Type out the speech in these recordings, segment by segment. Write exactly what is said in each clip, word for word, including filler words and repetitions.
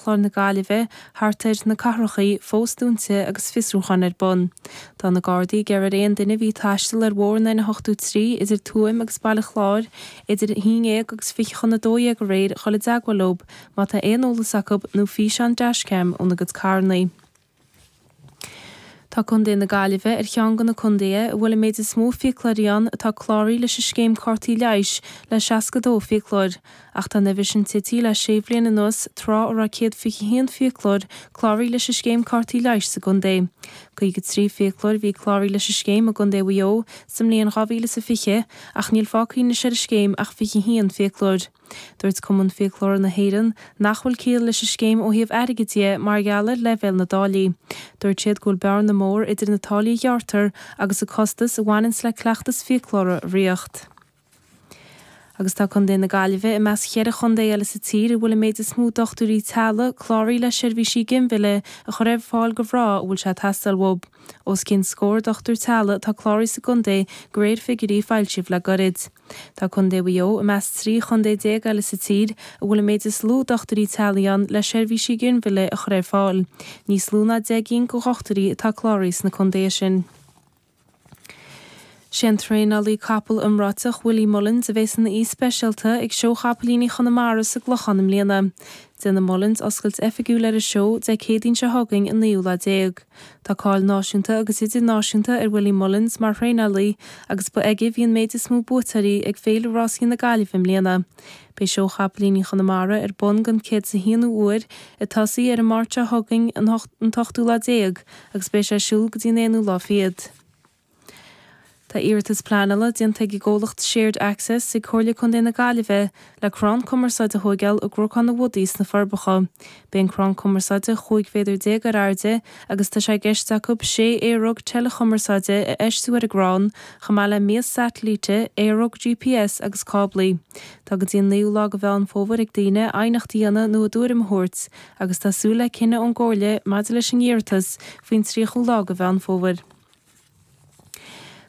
Chláir na Gaillimhe, thart ar na cathrachaí, fós dúnta agus fiosrúchán ar bun. Tá na Gardaí ag iarraidh ar aon duine a bhí ag taisteal ar bhóthar an N a hochtó trí idir Tuaim agus Baile Chláir idir a haon dhéag agus fiche chun a dó dhéag aréir dhul i dteagmháil leo má tá aon eolas acu nó físeán dashcam óna gcuid carranna. Tá Contae na Gaillimhe ar cheann de na contaetha a bhfuil an méid is mó fiaclóirí ann atá cláraithe leis an scéim cártaí leighis le seasca dó fiaclóir, ach tá an uimhir sin tite le sé bhliain anuas tráth a raibh céad fiche haon fiaclóir cláraithe leis an scéim cártaí leighis sa gcontae. Caoga trí fiaclóir a bhí cláraithe leis an scéim i gContae Mhaigh Eo sa mbliain dhá mhíle is a fiche ach níl fágtha anois ar an scéim ach fiche haon fiaclóir. Dúirt Cumann Fiaclóirí na hÉireann nach bhfuil ciall leis an scéim ó thaobh airgid de mar gheall ar leibhéal na dtáillí. Dúirt siad go bhfuil bearna mór idir na táillí a ghearrtar agus an costas a bhaineanns le cleachtas fiaclóra a ritheacht. Agus tá Contae na Gaillimhe i measc cheithre chontae eile sa tír a bhfuil an méid is mó dochtúirí teaghlaigh cláraithe le seirbhísí ginmhilleadh a chur ar fáil do mhná a bhfuil sé ag teastáil uathu. Os cionn scór dochtúir teaghlaigh atá cláraithe sa gcontae de réir figiúirí a foilsíodh le gairid. Tá Contae Mhaigh Eo i measc trí chontae déag eile sa tír a bhfuil an méid is lú dochtúirí teaghlaigh ann le seirbhísí ginmhilleadh a chur ar fáil. Níos lú ná deich gcinn de dhochtúirí atá cláraithe sna contaetha sin. Sé an traenálaí capall iomráiteach Willie Mullins a bheas ina aoi speisialta ag Seó Chapaillíní Chonamara sa gClochán i mbliana. Déanfaidh Mullins oscailt oifigiúil ar an seó Dé Céadaoin seo chugainn an naoú lá déag. Tá cáil náisiúnta agus idirnáisiúnta ar Willie Mullins mar thraenálaí agus ba aige a bhí an méid is mó buaiteoirí ag Féile Rásaí na Gaillimhe i mbliana. Beidh Seó Chapaillíní Chonamara ar bun don céad is a haonú uair ag tosaí ar an Máirt seo chugainn an t-ochtú lá déag agus beidh sé ar siúl go dtí an aonú lá fichead. Tá iarratas pleanála déanta ag an gcomhlacht Shared Access ag Comhairle Contae na Gaillimhe le crann cumarsáide a thóigeáil i gCnocán na Bhodaí sna Forbacha. Beidh an crann cumarsáide chúig mhéadar déag ar airde agus tá sé i gceist acu sé aeróg teileachumarsáide a fheistiú ar an gcrann, chomh maith le mias satailíte, aeróg G P S agus cáblaí. Tá go dtí an naoú lá de Mheán Fómhair ag daoine aighneacht a dhéanamh nó a dtuairim a thabhairt, agus tá súil le cinneadh ón gComhairle maidir leis an iarratas faoin tríochú lá de Mheán Fómhair.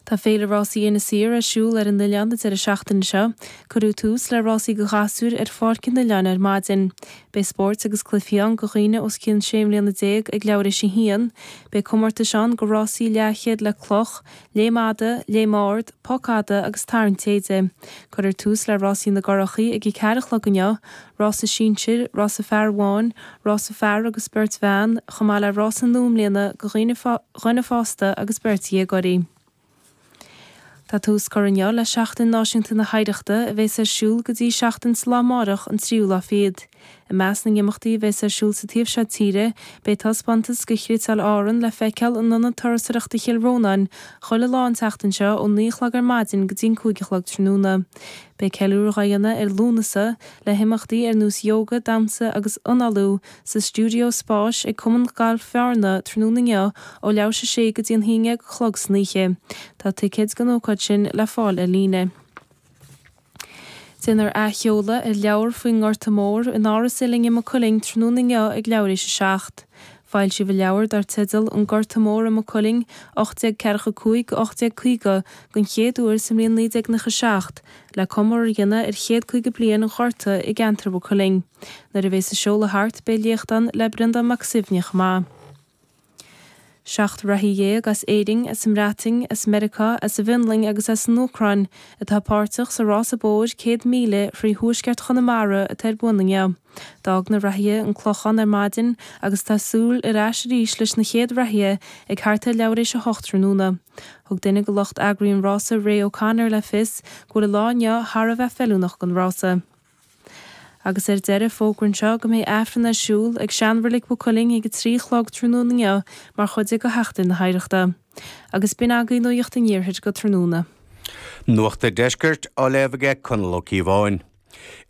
Tá féile rásaí Inis Oírr ar siúl ar an oileán an deireadh seachtaine seo. Cuireadh tús le rásaí do ghasúir ar pháirc an oileáin ar maidin. Beidh spóirt agus cluichí ann do dhaoine os cionn sé mbliana déag ag leathuair tar éis a haon, beidh comórtais ann do rásaí leathchéad le cloch, léim fhada, léim ard, poc fhada agus tarraingt téide. Cuirfear tús le rásaí na gcurachaí ag a ceathair a chlog inniu, rása sinsir, rása fear amháin, rása fear agus beirt bhean, chomh maith le rása nua i mbliana do dhaoine dhuine fásta agus beirt dhéagóirí. Tá tús curtha inniu le Seachtain Náisiúnta na hOidhreachta a bheas ar siúl go dtí seachtain sa lá amárach an tríú lá fichead. I measc na n-imeachtaí a bheas ar siúl sa taobh seo tíre, beidh taispeántas de chniotáil Árann le feiceáil in Ionad Turasóireachta Chill Rónáin chuile lá an tseachtain seo ó naoi a chlog ar maidin go dtí an cúig a chlog tráthnóna. Beidh ceiliúradh á dhéanamh ar Lúnasa le himeachtaí ar nós yoga, damhsa agus análú sa stiúideo spáis ag Cumann Gailf Bhearna tráthnóna inniu ó leathuair tar éis a sé go dtí an haon déag a chlog san oíche. Tá ticéid don ócáid sin le fáil ar líne. Déanfar athsheoladh ar leabhar faoin nGorta Mór in Áras Uilinn i Maigh Cuilinn tráthnóna inniu ag leathuair tar éis a seacht. Foilsíodh an leabhar dar teideal An Gorta Mór i Maigh Cuilinn ocht déag ceathracha cúig go ocht déag caoga den chéad uair sa mbliain naoi déag nócha seacht le comóradh a dhéanamh ar chéad caoga bliain an Ghorta i gceantar Mhaigh Cuilinn. Nuair a bheas an seoladh thart beidh léacht ann le Breandán Mac Suibhne chomh maith. Seacht reathaí dhéag as Éirinn, as an mBreatain, as Meiriceá, as an bhFionlainn agus as an Úcráin atá páirteach sa rása bóthair céad míle thrí thuaisceart Chonamara atá ar bun inniu. D'fhág na reathaithe an Clochán ar maidin agus tá súil ar ais arís leis na chéad reathaithe ag thart ar leathuair tar éis a hocht tráthnóna. Thug duine de lucht eagraithe an rása Ray O'Connor le fios go bhfuil an lá inniu thar a bheith feiliúnach don rása. Agus ar deireadh fógra anseo go mbeidh Aifreann ar siúl ag seanreilig Mhaigh Cuilinn ag a trí a chlog tráthnóna inniu mar chuid de Sheachtain na hOidhreachta. Agus b'in agaibh nuacht an iarthair go tráthnóna. Nuacht an Deiscirt á léamh aige Conall Ó Cíobháin.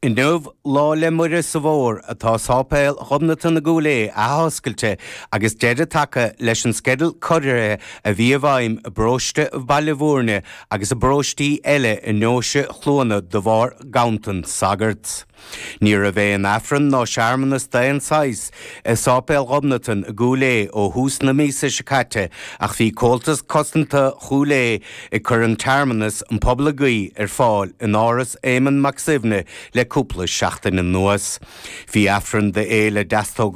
Inniu Lá 'le Muire sa bhFómhar atá Sáipéal Ghobnatan i gCúil Aodha athoscailte agus deireadh tagtha leis an sceideal corraithe a bhí i bhfeidhm i bparóiste Bhaile Bhúirne agus i bparóistí eile i nDeoise Chluana de bharr ganntan sagart. Ní raibh aon Aifreann ná searmanas d'aon saghas i Sáipéal Ghobnatan i gCúil Aodha ó thús na míosa seo caite ach bhí Comhaltas Cosanta Chúil Aodha ag cur an tsearmanas an pobal ag guí ar fáil in Áras Éamonn Mac Suibhne le cúpla seachtain anuas. Bhí Aifreann d'Fhéile Deastógála